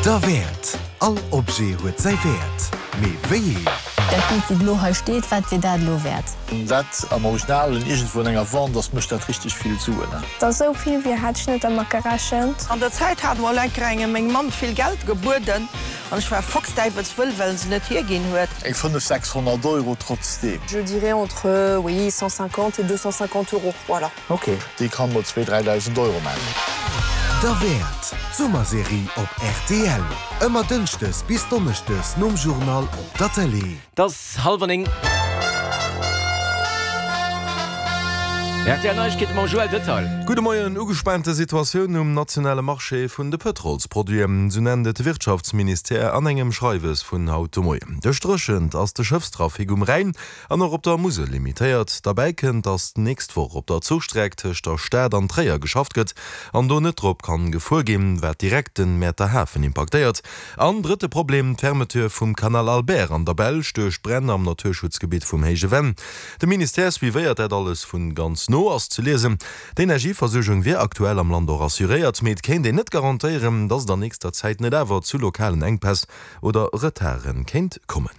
Derwäert! All Objet huet säi Wäert, mee wéi een? Dat Bild wéi et elo hei steet, wat wier dat elo wäert? Dat am Originalen iergendwou an enger Vente ass, mécht dat richteg vill Suen. Dass esou vill wier, hat ech net dermat gerechent. An der Zäit hat mol enker engem meng Mamm vill Geld gebueden an ech war foxdäiwelswëll, well se net hierginn huet. Eng 5, 600 Euro trotzdeem. Je dirais entre, oui, 150 et 250 euros, voilà. Ok, déi kann mol zwee, 3.000 Euro man. Derwäert, d'Summerserie op rtl. Ëmmer dënschdes bis donneschdes nom Journal op der Tëlee. Et ass hallwer 9. Rtl Neiegkeete mam Joël Detail. Gudde Moien. Ugespaante Situatioun um nationale Marché vun de Pëtrolsproduiten, sou nennt et de Wirtschaftsministère an engem Schreiwes vun haut de Moien. Duerch d'Dréchent ass de Schëffstrafic um Rhäin An och op der Musel limitéiert. Derbäi kënnt, datt d'nächst Woch op der Zuchstreck tëscht der Stad an Tréier geschafft gëtt an do net drop kann gefuer ginn, wat direkt den Mäerter Hafen impaktéiert. An drëtte Problem, d'Fermeture vum Canal Albert an der Belsch duerch d'Bränn am Naturschutzgebitt vum Héije Venn. De Ministère suivéiert dat alles vun ganz no, ass ze liesen. D'Energieversuergung wier aktuell am Land och assuréiert, mee et kéint een net garantéieren, datt et an nächster Zäit net awer zu lokalen Enkpäss oder Retarde kéint kommen.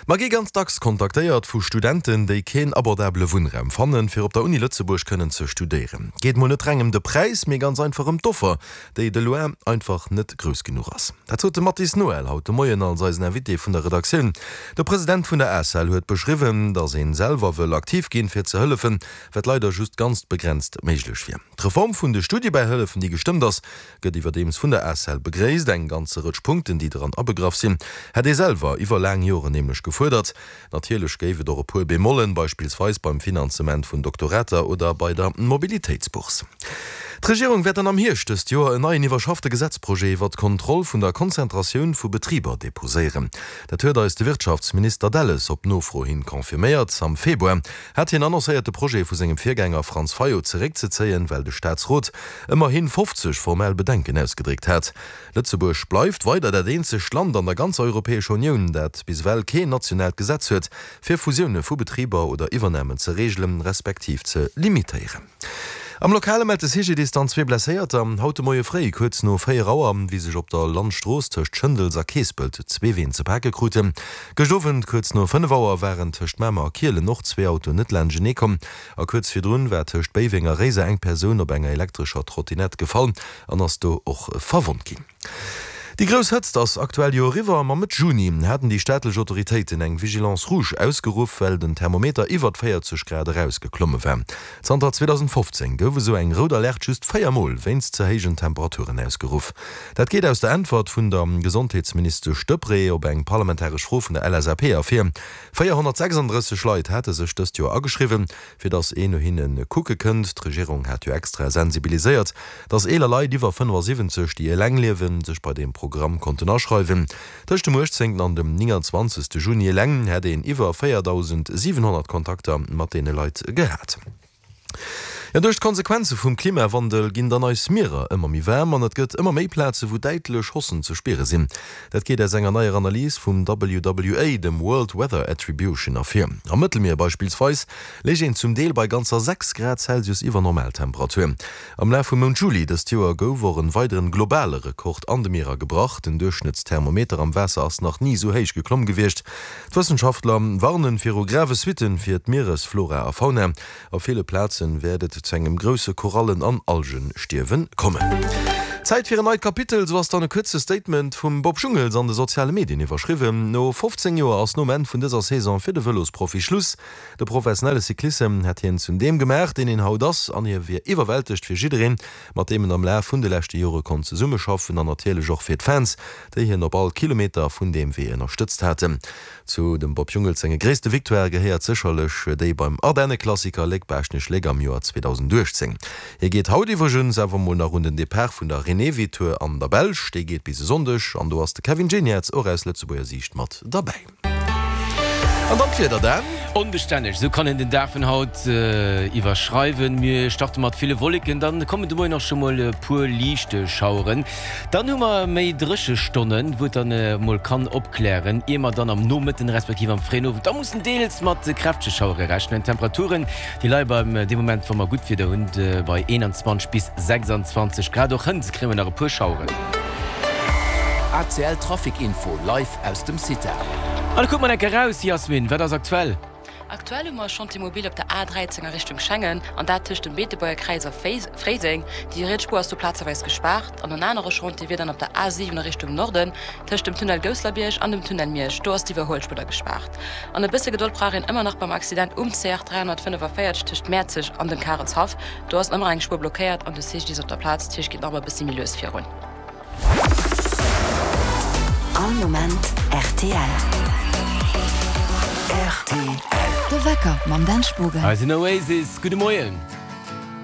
Mer gi ganz dacks kontaktéiert vu Studenten, déi keen abordabele Wunnraum fannen, fir op der Uni Lëtzebuerg kënnen ze studéieren. Geet mol net reng ëm de Präis, mee ganz einfach ëm d'Offer, déi de loin einfach net grouss genuch ass. Dat sot de Mathis Noël haut de Moien als eisen Invité vun der Redaktioun. De President vun der ACEL huet beschriwwen, datt een selwer wëll aktiv ginn, fir ze hëllefen, wat leider just ganz begrenzt méiglech wier. D'Reform vun de Studiebäihëllefen, déi gestëmmt ass, Gëtt iwwerdeems vun der ACEL begréisst. Eng ganze Rëtsch Punkten, déi dran abegraff sinn, hätt ee selwer iwwer laang Joren nämlech gefuerdert. Natierlech géif et och e puer Bemollen, beispillsweis beim Finanzement vun Doktorater oder bei der Mobilitéitsbourse. D'Regierung wäert dann am Hierscht dëst Joer en neien iwwerschaffte Gesetzprojet iwwer d'Kontroll vun der Konzentratioun vu Betriber deposéieren. Dat huet eis de Wirtschaftsminister Delles op Nofro hin confirméiert. Am Februar hat hien annoncéiert, de Projet vu sengem Virgänger Franz Fayot zeréckzezéien, well de Staatsrot ëmmerhi 50 formell Bedenken ausgedréckt hat. Lëtzebuerg bleift weider dat eenzegt Land an der ganzer Europäescher Unioun, dat bis ewell keen nationaalt Gesetz huet, fir Fusioune vu Betriber oder Iwwernamen ze reegelen, respektiv ze limitéieren. Am Lokale mellt de CGDIS dann zwee Blesséierter. Haut de Moie fréi, kuerz no 4 Auer, wéi sech op der Landstrooss tëscht Schëndels a Keespelt zwee Ween ze pake kruten. Gëscht Owend kuerz no 5 Auer waren tëscht Mamer a Kielen och zwee Autoen net laanschtenee komm. A kuerz virdrun war tëscht Béiweng a Réiser eng Persoun op enger elektrescher Trottinett gefall an ass do och verwonnt ginn. Déi grouss Hëtzt ass aktuell jo eriwwer, ma Mëtt Juni haten déi staatlech Autoritéiten eng Vigilance rouge ausgeruff, well den Thermometer iwwert 40 Grad erausgeklomme war. Zanter 2015 gouf esou eng rout Alerte just 4 Mol wéinst ze héijen Temperaturen ausgeruff. Dat geet aus der Äntwert vun der Gesondheetsministesch Deprez op eng parlamentaresch Fro vun der LSAP ervir. 436 Leit hate sech dëst Joer ageschriwwen, fir datt een no hinne kucke kënnt. D'Regierung hat jo extra sensibiliséiert, datt eeler Leit iwwer 75, déi eleng liewen, sech bei deem Programm konnten aschreiwen. Tëscht dem 18 an dem 29 Juni eleng hätt een iwwer 4.700 Kontakter mat deene Leit gehat. Jo, duerch d'Konsequenze vum Klimawandel ginn dann eis Mierer ëmmer méi waarm an et gëtt ëmmer méi Plaze wou däitlech Hossen ze spiere sinn. Dat geet aus enger neier Analys vum WWA, dem World Weather Attribution, ervir. Am Mëttelmier beispillsweis léich een zum Deel bei ganzer 6 Grad Celsius iwwer Normaltemperatur. Am Laf vum Mount Juli dëst Joer gouf och en weideren globale Rekord an de Mierer gebrach. Den Duerchschnëttsthermometer am Waasser ass nach ni esou héich geklomm gewiescht. D'Wëssenschaftler warnen viru grave Suitten fir d'Mieresflora a Fauna. Op ville Plazen wäert et zu engem grousse Korallen an Algenstierwen kommen. Zäit fir en neit Kapitel, sou ass dann e kuerze Statement vum Bob Jungels an de soziale Medien iwwerschriwwen. No 15 Joer ass nom Enn vun dëser Saison fir de Vëlosprofi Schluss. De professionelle Cyclissem hätt hien zum deem gemaach, deen een haut ass an hie wier iwwerwältegt fir jiddereen, mat deem en am Laf vun de leschte Jore konnt zesummeschaffen an natierlech och fir d'Fans, déi hien op all Kilometer vun deem Wee ënnerstëtzt haten. Zu dem Bob Jungels senge gréisste Victoirë gehéiert sécherlech déi beim Ardenne-Klassiker Léck-Baaschtnech-Léck am Joer 2018. Hie geet haut iwwregens awer mol nach un den Depart vun der Renewi-Tour an der Belsch. Déi geet bis e Sonndeg an do ass de Kevin Geniets och aus Lëtzebuerger Siicht mat derbäi. An dann d'Wieder, Dan. Onbestänneg, esou kann een den Dag vun haut iwwerschreiwen. Mir starte mat ville Wolleken, dann kommen de Moien och scho mol e puer liicht Schaueren. Dann hu mer méi dréche Stonnen, wou et dann mol kann opklären, ier mer dann am Nomëtten respektiv am fréien Owend da mussen deels mat kräftege Schauere rechnen. D'Temperaturen, déi leie beim dee Moment, wa mer gutt Wieder hunn, bei 21 bis 26 Grad. Och hënt kréie mer nach e puer Schaueren. ACL Trafic Info live aus dem CITA. An da kucke mer enke raus, Yasmin, wat ass aktuell? Aktuell hu mer e Chantier mobile op der A13 a Richtung Schengen, an dat tëscht dem Beetebuerger Kräiz a Fréiseng. Déi riets Spuer ass do plazeweis gespaart. An en anere Chantier wier dann op der A7 a Richtung Norden, tëscht dem Tunnel Gousslerbierg an dem Tunnel Miersch. Do ass d'Iwwerhuelspuer da gespaart. An e bësse Gedold brauch een ëmmer nach beim Accident um CR 345 tëscht Mäerzeg an dem Karelshaff. Do ass ëmmer eng Spuer blockéiert an de CGDIS op der Plaz, dat heescht geet nach ëmmer e bëssi méi lues virun. All Moment rtl. Rtl. De Wecker mam Dan Spogen. Hei sinn Oasis, gudde Moien.